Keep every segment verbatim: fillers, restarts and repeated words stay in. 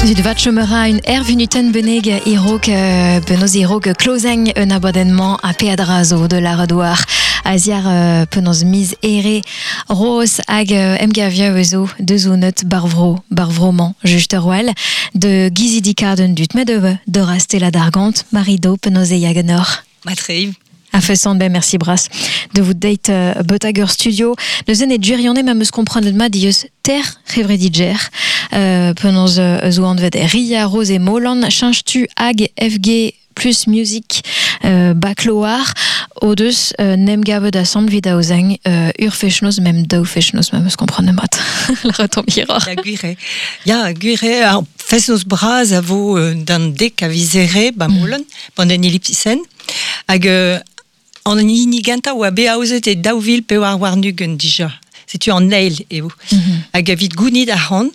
Zut vat chomera un ervunuten beneg irok euh, benoz irok klozeng un abadennement a peadra zo de la redoar a ziar euh, penoz miz ere roz hag euh, emgavia ezo deus o neut barvro barvroman just roel de gizidika d'un dut met de de rastela d'argant marido penoz e yagenor. Matreiv. A fesant ben merci bras de vous date uh, Botager Studio. Neuzen e durione ma meus komprenet ma dieus ter c'hevredidjer. Euh, penaos uh, zo anvet Ria Rose e Molan, change-tu hag F G plus music euh, bakloar o deus euh, nem gavet assemble vid aozeng euh, ur fechnoz mem daou fechnoz ma meus komprenet mat. La retombe hiror. Ya gwire. Ya gwire ar fechnoz bras a vo euh, d'an dek a vizere ba Molan, mm. bant en ellipsisen hag euh, an hini genta oa be aozet e daou vil pe war warnugen dija. Setu an eil eo. Mm -hmm. Hag a vit gounid ar c'hant,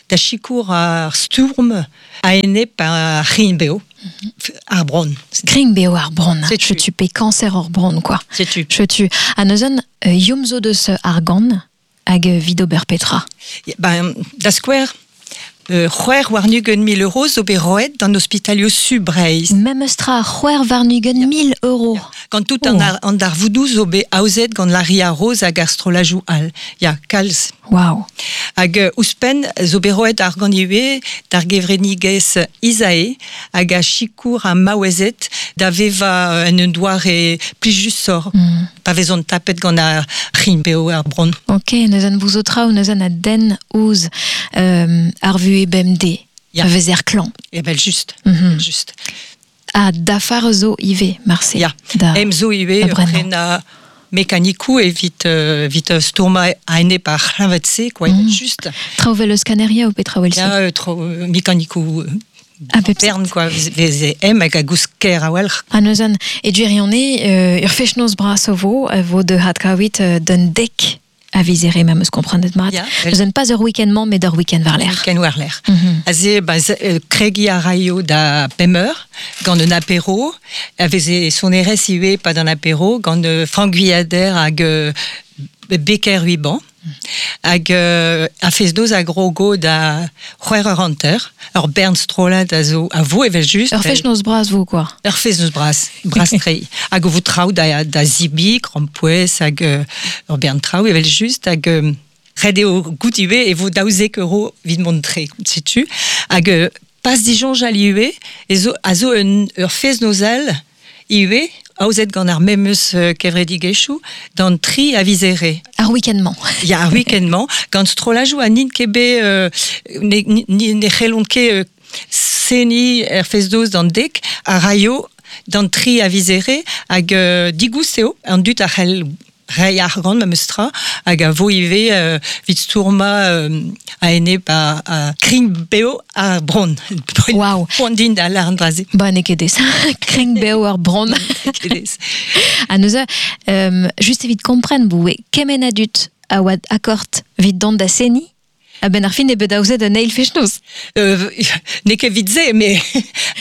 da chikour ar stourm a enep ar c'hrin beo, mm -hmm. ar bron. Krin beo ar bron. Setu. Chetu pe cancer ar bron, quoi. Setu. Chetu. A neuzen, euh, yom zo deus argan hag vid ober petra. Ya, ben, da skouer, Euh, c'hwec'h warn-ugent mil euros zo bet roet d'an ospitalio su Breizh. Memes tra c'hwec'h warn-ugent mil euros. Ya. Gant tout an, Oh. ar, an darvoudoù zo bet aozet gant la Ria Rose hag ar strolajou all. Ya, kalz. Wow. Hag euh, ouzhpenn zo bet roet ar gant ivez d'ar gevrenigez Isae hag a chikour a maouezet da veva en un doare plijusor. Mm. Pa vezont tapet gant ar c'hin beo ar bron. Ok, neuzen bouzo traoù, neuzen a den ouz euh, ar vu e B M D. Ya. A vezer klan. E bel just. Mm -hmm. Just. A dafar zo ive, marse. Ya. Da. Em zo ive, Da brennañ. prena mekanikou evit, euh, evit stourma a ene par c'hlañvet-se, quoi, Mm. just. Traoù vel eus kaneria ou petra vel se? Ya, euh, tro, euh, mekanikou euh, A bep bern, quoi, veze em hag a gousker a welc'h. A neuzen, e duirione, euh, ur fechnoz bras o vo, vo de hatkawit euh, d'un dek a vizere ma meus komprenet mat. Ya, Neuzen pas ur week-end-mañ, met ur week-end war l'air. Week-end war l'air. Mm -hmm. Aze, ba, ze, euh, kregi a raio da pemeur, gant un apéro, a veze sonerez iwe pa d'an apéro, gant euh, Franck Guyader hag euh, Becker Huiban, hag euh, a fez doz a grogo da c'hwec'h eur hanter, ur bern strollad a zo a vo evel just. Ur fechnoz bras vo, quoi. Ur fechnoz bras, bras tre. Hag o vo traoù da, da zibi, krampouezh, hag euh, ur bern traoù evel just, hag euh, ret eo gout ivez e vo daouzek euro evit mont tre, setu. Hag euh, pas disoñjal ivez, e zo, a zo un, ur fest-noz all ivez, aozet gant ar memes euh, kevredigezhioù, d'an tri a vizere. Ar week-end-mañ. Ya, ar week-end-mañ, gant strollajoù a n'int ket bet, euh, ne, ne, ne c'hellont ket euh, seniñ er fest-noz d'an dek, a raio d'an tri a vizere, hag euh, digoust eo, an dud a c'hell rei argant ma meus tra, hag a vo ivez euh, vit stourma euh, a enep a, a krin beo ar bron. Wow. Poan din da lar an draze. Ba, n'eo ket dez. Krin beo ar bron. Ket dez. A neuze, euh, just evit kompren boue, kement a dut a oad akort vit dont da seni, a ben ar fin e bet aozet un eil fechnoz. Euh, n'eo ket vit se, mais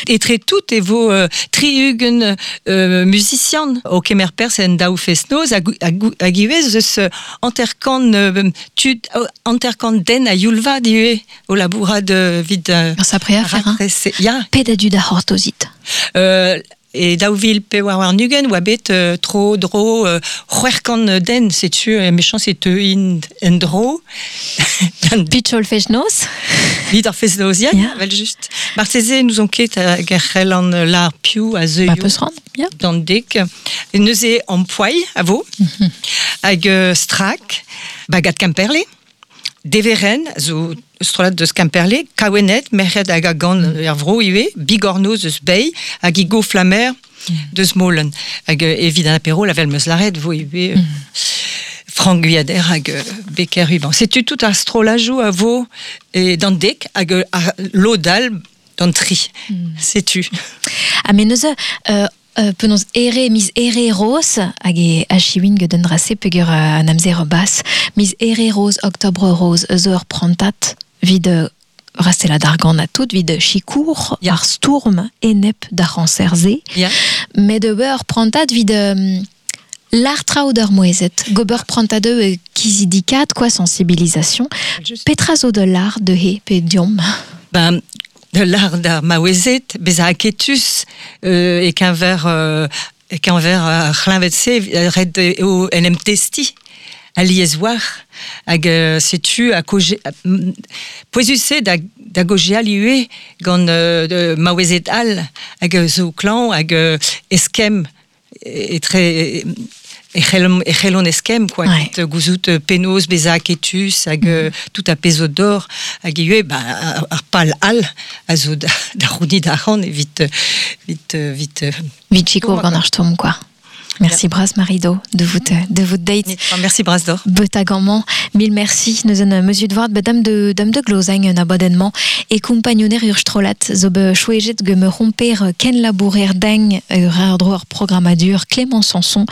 etre tout e vo euh, tri-ugent euh, musician o kemer pers en daou fest-noz hag, hag, hag ivez eus hanter-kant, euh, tud, hanter-kant den a youlvad ivez o labourad euh, vit, euh, Ur sapre afer, hein. raktres, ya. Pet a dud a c'hortozit. Euh, e daou vil pewar warn-ugent oa bet euh, tro dro euh, c'hwec'h kant den, setu, euh, mechañs e teu int en dro. Pitchol fest-noz. Vit ar fest-noz, ya, Ya. vel just. Marteze nous on ket hag ar c'hell an lar piou a zeuio Ba peus ran, ya. d'an dek. E neuze an poailh a vo, Mm-hmm. hag euh, strak, bagad Kemperle, Deveren, zo strollad deus Kemperle, Kaouenet, merc'hed hag a gant er vro ivez, Bigornoz eus Bei, hag Igo Flamer deus Molen. Hag euh, evit an apéro, la vel meus laret vo ivez, euh, Franck Guyader hag euh, Becker Huiban. Setu tout ar strollajou a vo e d'an dek hag euh, ar lodal d'an tri. Setu. A me neuze, euh, euh, penaos ere, miz ere roz, hag e achiwin gant un drase peogwir euh, an amzer bas, miz ere roz, octobre roz, zo ur prantat vid euh, rastela d'argant a tout, vid chikour, Ya. ar stourm enep d'ar c'hanser-se, Ya. met ur prantat vid euh, l'ar traoù d'ur mouezet, gober prantad euh, kizidikat, quoi, sensibilisation. Just. Petra zo de l'art de he pe diom. Ben, de l'art d'ar maouezet, beza aketus euh, e keñver euh, e keñver ar c'hleñved-se ret eo en em testi alies war hag euh, setu a koje pouezus da da gojeal ivez gant euh, de maouezet all hag zo klañv hag euh, eskemm etre e c'hellont eskemm quoi Ouais. ouais. Gouzout penaos beza aketus hag mm. tout a pezh d'or hag ivez ba ar pal all a zo da, da rounit ar ran evit vit vit Vit sikour gant ar stourm, quoi. Merci bras Marido de vous de vous date. Merci bras d'or. Betagamment, mille merci. Nous en mesure de voir dame de dame de Glozagne un abonnement et compagnonner ur strolat zo be chouejet ge me romper ken labourer deng ur ar droar programmadur Clément Sanson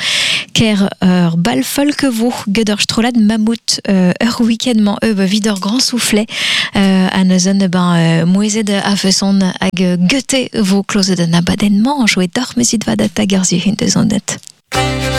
ker ur bal folk vo ged ur strolat mammouth ur week-end man eo vid ur grand soufflet euh, a neuzen ben euh, mouezet a feson hag goethe vo klozet an abadennement jouet d'or mesit vad a tagerzu hint eus an net.